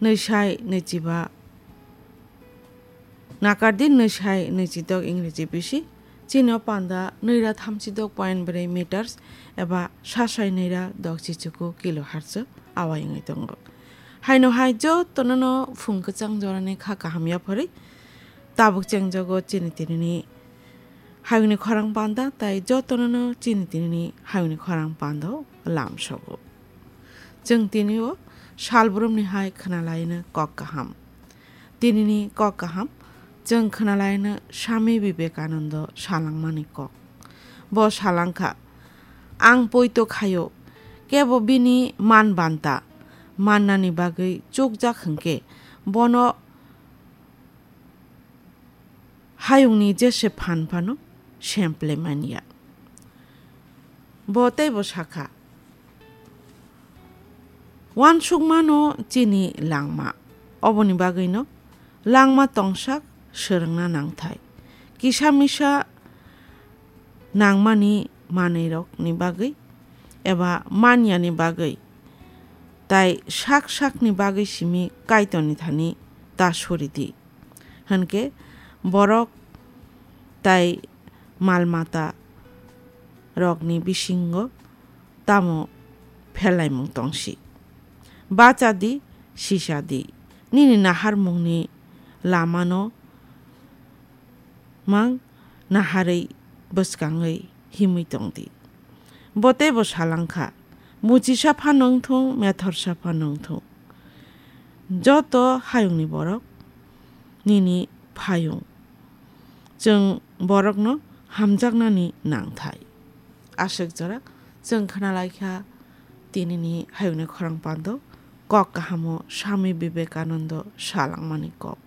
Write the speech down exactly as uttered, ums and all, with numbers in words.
nwisai nwichiba, nakardi nwisai nwichidok Ingreji bisi, chini o panda nwira thamchidok point bwrwi meters eba sasai nwira dok chichuku kilohertz o awai wngwi tongo. Haino hai jotono no phung kwchang jorani kha kaham yapharwi tabuk chengjago chini tinini hayungni khorang panda, tai jotono no chini tinini hayungni khorang panda o lamsogo. Chwng tini o salbrumni hai khwnalaino kok kaham. Tinini kok kaham chwng khwnalaino Swami Vivekananda salangmani kok. Bo salangkha, "Ang poito khaio, kebo bini man banta mannani bagwi chukjak hwnkhe bono hayungni jese phan phano semple manya." Bo teibo sakha, "Uansukmano chini langma, oboni bagwino langma tongsak swrwngna nangthai. Kisa misa nangmani manwirokni bagwi eba manyani bagwi, tai sak sakni bagwi simi Kaitorni thani ta suridi." Hwnkhe borok tai mal mata rokni bisingo tamo pherlaimung tongsi? Bacha di, sisa di, nini naharmungni lamano mang naharwi bwskangwi himwi tong di. Bo teibo salangkha, "Muchisa phano wngthung, methorsa phano wngthung, joto hayungni borok nini phayung. Chwng borokno hamjaknani nangthai." Aswk jora chwng khwnalaikha tinini hayungni khorang pando kok kahamo Swami Vivekananda salangmani kok.